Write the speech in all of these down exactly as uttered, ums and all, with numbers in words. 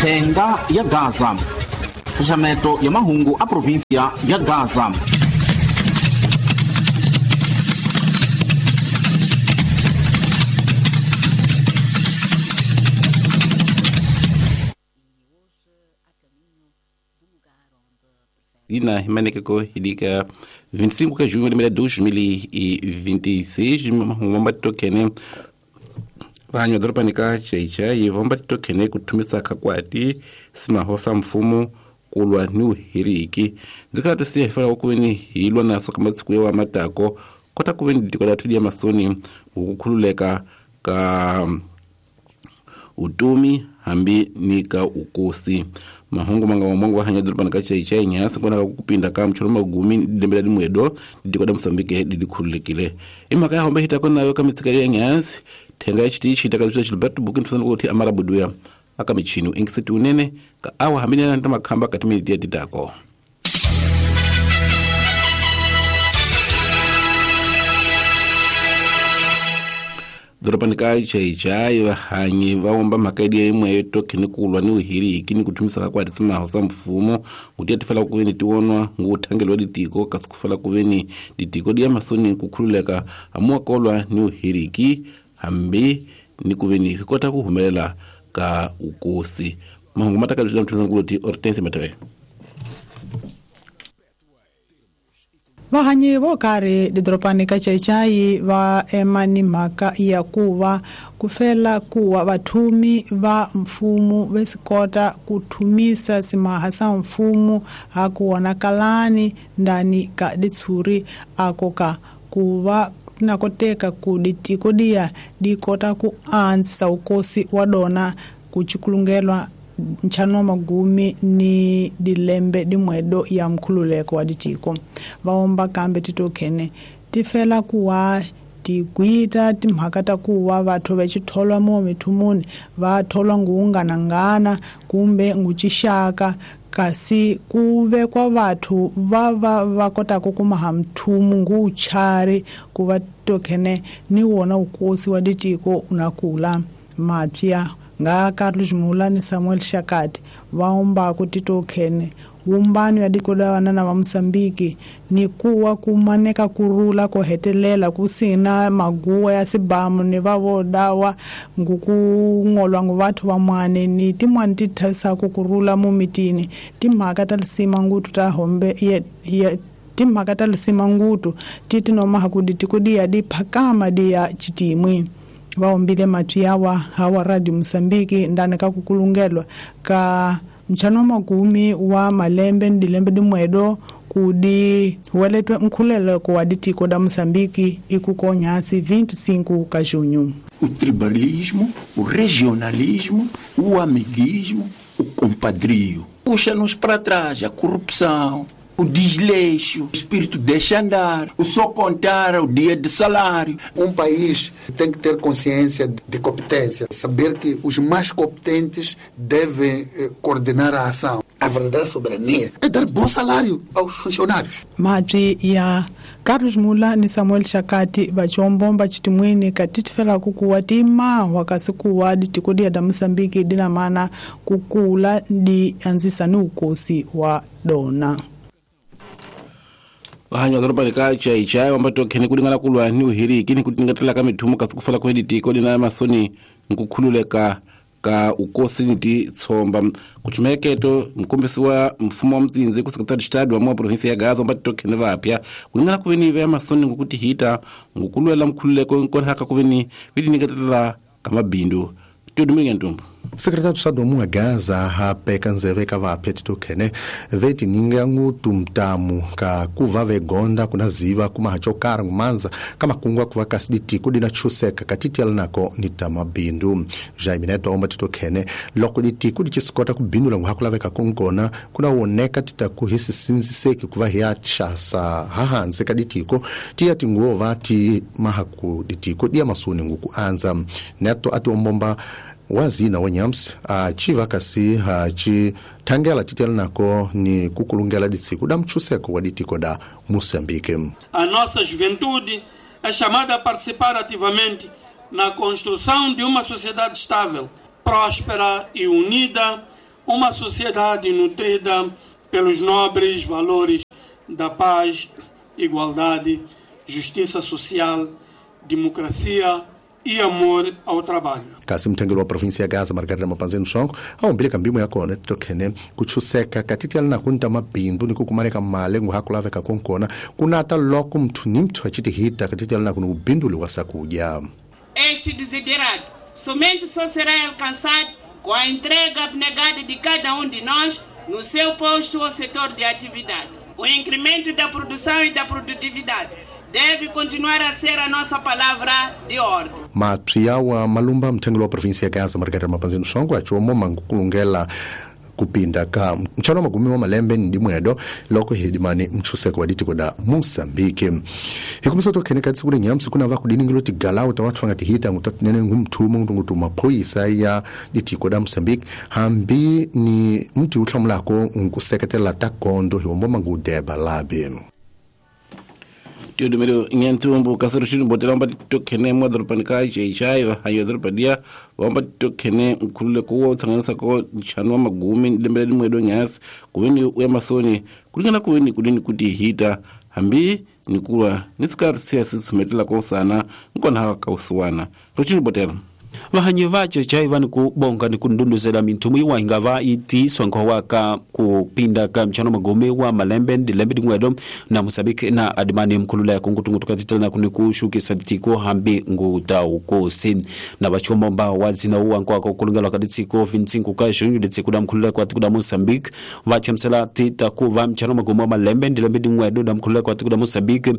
Thenga ya Gaza. Xaxameto ya mahungu a província ya Gaza. Ina himanekeko hidika vinte e cinco de junho de dois mil e vinte e seis mahungu matokene vanhu dorobani ka Chaichai vomba tokene ku thumisa khakwati simahosa mfumo kulwa ni uhiriki ndzi to siya hifela ku veni hi lwa naso ka masiku ya matako kota ku veni ditiko la thudi ya masoni ukukhululeka ka utomi hambi ni ka ukosi mahungu manga mamongo wa hanya dorobani ka Chaichai nyasi kona ka kupinda ka mchoro magumi dembela dimwedo ditiko da Mozambique didikhululekile imhaka ya hombe hitako nayo ka mitsika ya nyasi thenga ya chitichi takalisha Gilberto Bukin tsana kuti amara buduya aka michini ingiseti unene ka awa hamine na makhamba kati miniti ya titako dorobani ka Chaichai vahanyi va womba mhaka ya imwe tokhene kulwa ni uhiriki ni kuthumisa ka kwati simaho sa mfumo kuti ya tifela ku veni tionwa nguthangelo wa ditiko kasi kufela ku veni ditiko di ya masoni kukhululeka hamuwa kolwa ni uhiriki hambi ni ku veni hi kota ku humelela ka ukosi mahungu mataka mthunza nguloti Hortense Matawe. Vahanyi vo karhi didorobani ka Chaichai va ema ni mhaka ya ku va ku fela kuwa vathumi va mfumo ve swi kota ku thumisa simaha sa mfumo ha ku vonakalani ndani ka ditshuri ako ka ku va na koteka ku ditiko diya di kota ku andzisa ukosi wa dona ku chikulungelwa ntlhanu wa magumi ni dilembe dimwedo ya mkhululeko wa ditiko vaomba kambe titokhene ti fela ku wa tigwita timhaka ta ku wa vathu va xitholwa mo mithumuni va tholwa nguunganangana kumbe ngucixaka kasi ku vekwa vathu va va va kotaka ku maha mthumu nguchari ku va tokhene ni wona ukosi wa ditiko unakula mapya nga Carlos Mula ni Samuel Shakati vaomba ku titokhene wumbano ya diko la vanana va Mozambique ni kuwa kumaneka kurula ko hetelela kusina maguwa ya sibamu ni va vodawa ngukungolwa ngu vathu vamwane ni timwani ti thasaku kurula mumitini timhaka ta lisima ngutu ta hombe ye, ye timhaka ta lisima ngutu ti tinomaha ku ditiko diya di phakama diya chitimwi vaombile matwi yawa hawa Radio Mozambique ndani ka kukulungelwa ka ntlhanu wa magumi wa malembe ni dilembe dimwedo kudi weletwe nkhululeko wa ditiko da Mozambique ikukonyasi vinte e cinco ka junho. O tribalismo, o regionalismo, o amiguismo, o compadrio puxa-nos para trás a corrupção, o desleixo, o espírito deixa andar, o só contar o dia de salário. Um país tem que ter consciência de competência, saber que os mais competentes devem coordenar a ação. A verdadeira soberania é dar bom salário aos funcionários. Mabyi ya Carlos Mula ni Samuel Shakati vachombomba chitimwini katitifela kukuwa timahwa kasi kuwa ditiko diya da Mozambique dina mana kukula di anzisa ni ukosi wa dona. Vahanyi va dorobani ka Chaichai vamba tokhene ku lingana kulwa ni uhiriki ni ku tingatela ka mithumo kasi ku fela ku ditiko dina masoni nkukhululeka ka ukosi ni titshomba ku chumeketo mkombisi wa mfumo wa mtsinzi ku secretary de Estado wa mwa província ya Gaza vamba tokhene vapya ku lingana ku veni va masoni ngukuti hita ngukulwela mkhululeko nkonhaka ku veni vitingatela ka mabindu Teodomiro Ntumbu. Secretário de Estado wa Gaza hapeka nzeve ka vapya titokhene veti ninga ngutu mtamu ka kuva vegonda kuna ziva kuma chokara ngumanza kama kungwa kuva kasi ditiko dina chuseka katiti nako ni tamabindu Jaime Neto omba titokhene loko ditiko dichisikota kubindula nguhakulaveka konkona kuna woneka titaku hisi sinziseki kuva hiya chasa hahanze ka ditiko tiya tinguova ti mahaku ditiko dia masuni nguku anza Neto ati ombomba wazina wanyams a chiva kasi a chi tangela titela nako ni kukulungela ditsiku da mchuseko wa ditiko da Moçambique. A nossa juventude é chamada a participar ativamente na construção de uma sociedade estável, próspera e unida, uma sociedade nutrida pelos nobres valores da paz, igualdade, justiça social, democracia e amor ao trabalho. Kasi mthengeli wa provinsi ya Gaza Margarida Mapanzeni Songo awumbile kambimo ya kona tokhene kuchuseka katitiala na kunta mabindu ni kukumaleka male nguhakulaveka konkona kunata loko mthu ni mthu acitihita katitiala na kuni ubinduli wa sakuja. Este desiderato somente só será alcançado com a entrega abnegada de cada um de nós no seu posto ou setor de atividade. O incremento da produção e da produtividade deve continuar a ser a nossa palavra de ordem. Mapya wa Malumba mthengeli wa provinsi ya Gaza Margarida Mapanzeni Songo achiwomo mangukulungela kupinda ka mchano magumi wa malembe ndi mwedo loko hidimani mchuseko wa ditiko da Mosambiki. Hikumisa tokhene katsi kule nyamsi kuna va kudiningilo tigalau ta watu ngati hita ngutatnene ngumthumo ngutu maphoyisa ya ditiko da Mosambiki hambi ni mtu utlhamulako nkuseketela ta gondo hiwombo mangudeba labe. Teodomero nyantumbu kasero shinu botela mba tokhene mwa doropanika chaichai hayo doropadia wamba tokhene mkhulule kuwo tsanganisa ko chanwa magumi lembele limwedo nyasi kuweni uya masoni kulingana kuweni kudini kuti hita hambi nikulwa nisikari siasi simetela kosana nkona hawa kausuwana rochini botela vahanyi vache chai vani kubonga ni kundunduzela minthumu iwa ingava itiswa nkhowaka kupinda ka mchano magome wa malembe ndi lembe dingwedo na Mosambiki na adimani mkhululeko nkutungutu katitela kuni kushukisa tiko hambi ngutaukosi na vachomba wazina uwa nkwaka ukulungelwa kaditsiko vintsinku ka junho ditsiko da mkhululeko atiku da Mosambiki vachemsela tita kuva mchano magome wa malembe ndi lembe dingwedo da mkhululeko atiku da Mosambiki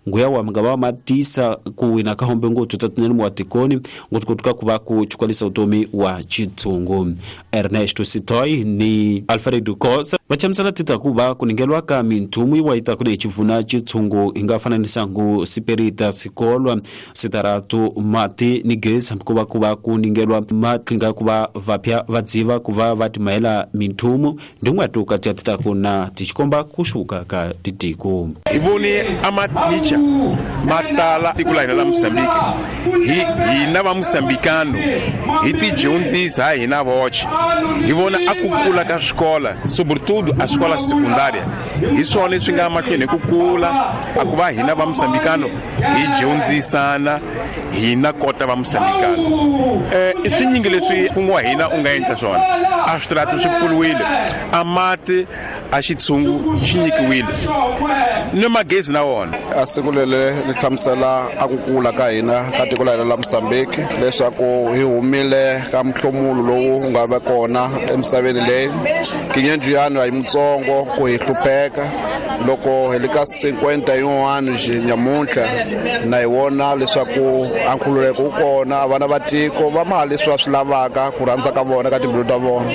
nguya wa mngava matisa kuwina kahombe ngutu tatinene muatikoni ngutukutuka kuva kuchukwalisa utomi wa chitsungu. Ernesto Sitoi ni Alfredo Kosa vachamisala tita kuva kuningelwa ka minthumu iwa ita kune chivuna chitsungu ingafananisa ngu siperita sikolwa sitaratu mati ni gesi kuva kuva kuningelwa matlinga kuva vapya vadziva kuva vatimaela minthumu ndingwatu kati ya tita kuna tichikomba kushuka ka titiko ivoni amaticha matala tikula ina la Mosambiki hi hina va Mosambikano hi tidyondzisa hina voce hi vona a ku kula ka swikola sobretudo a escola secundária hi swona leswi nga mahlweni hi ku kula a ku va hina va Mosambikano hi dyondzisana hina kota va Mosambikano eh i swinyingi leswi mfumo wa hina u nga endla swona a switarata swi pfuriwile a mati a xitshungu xi nyikiwile ni magezi na wona a siku lele ri hlamusela a ku kula ka hina ka tiko la hina la Mosambiki leswaku hi humile ka mhlomulo lowu nga va kona emisaveni leyi kinyenjiyano a hi mutsongo ku hi hlupheka loko hi le ka cinquenta yin'wana nyamuntlha na hi vona leswaku a nkhululeko wu kona vana va tiko va maha leswi va swi lavaka ku rhandza ka vona ka timbilu ta vona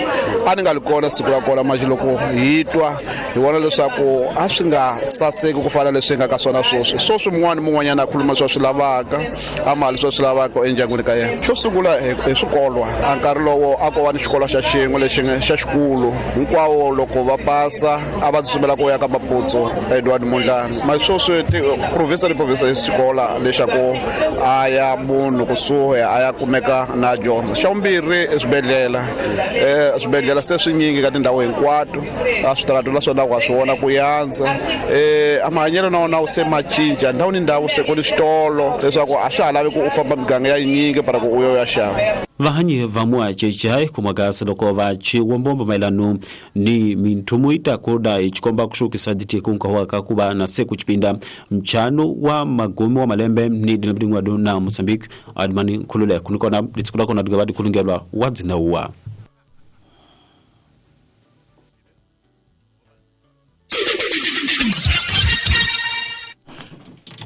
a ni nga li kona siku ra kona manjhe loko hi twa hi vona leswaku a swi nga saseki ku fana leswi nga ka swona sweswi sweswi mun'wana mun'wanyana a khuluma leswi a swi lavaka a maha leswi a swi lavaka endyangwini ka yena xo sungula hi swikolo a nkarhi lowo a ko va ni xikolo xa xin'we lexi xa xikulu hinkwawo loko va pasa a va tsutsumela ku ya ka Maputso Edward Mondlane ma sweswi province ni province hi xikola lexaku a ya munhu kusuhi a ya kumeka na dyondza xa vumbirhi eswibedhlele um swibedhlele se swinyingi ka tindhawu hinkwato a switarata la swona wa swi vona ku yandza um a mahanyelo na wona wu se ma cinca ndhawu ni ndhawu se ku ni switolo leswaku a swa ha lavi ku u famba miganga ya yinyingi para ku u yo ya xava. Vahanyi va muacheche kumagasa loko va chiwombombo maelano ni minthumu itakoda ichikomba kushukisa ditiko nkawaka kuba na seku chipinda mchano wa magomi wa malembe ni dinabdingwa na Mozambique admani kulule kunikona ditsikula kona digabadi kulungelwa wadzina uwa.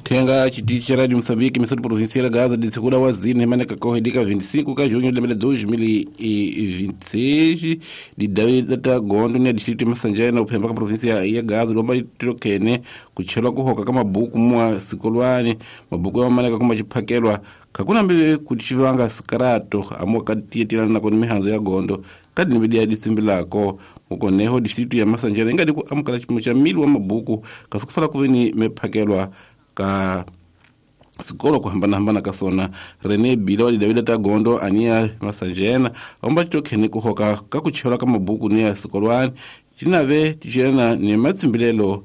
Tenga chitichi cha Radio Mozambique missão provincial Gaza de segunda wazini maneka kohedika vinte e cinco ka junho de dois mil e vinte e seis de data gondo ne distrito Massanjana na upemba ka província ya Gaza lomba itrokene kuchelwa kuhoka ka mabuku mwa sikolwani mabuku ya maneka kuma chiphakelwa kakuna mbe kuchivanga sikarato amwa katietilana na koni mihanzo ya gondo kadi nimedia disimbilako mukoneho distrito ya Massanjana ingadi ku amukala chipimo cha mili wa mabuku kasikufala kuveni mephakelwa ka Sikolo kuhambanahambana ka sona Rene Bila wa Davida ta Gondo ania Masanjena omba titokhene kuhoka ka kuchelwa ka mabuku ni ya sikolwani tinave ticelana ni matsimbilelo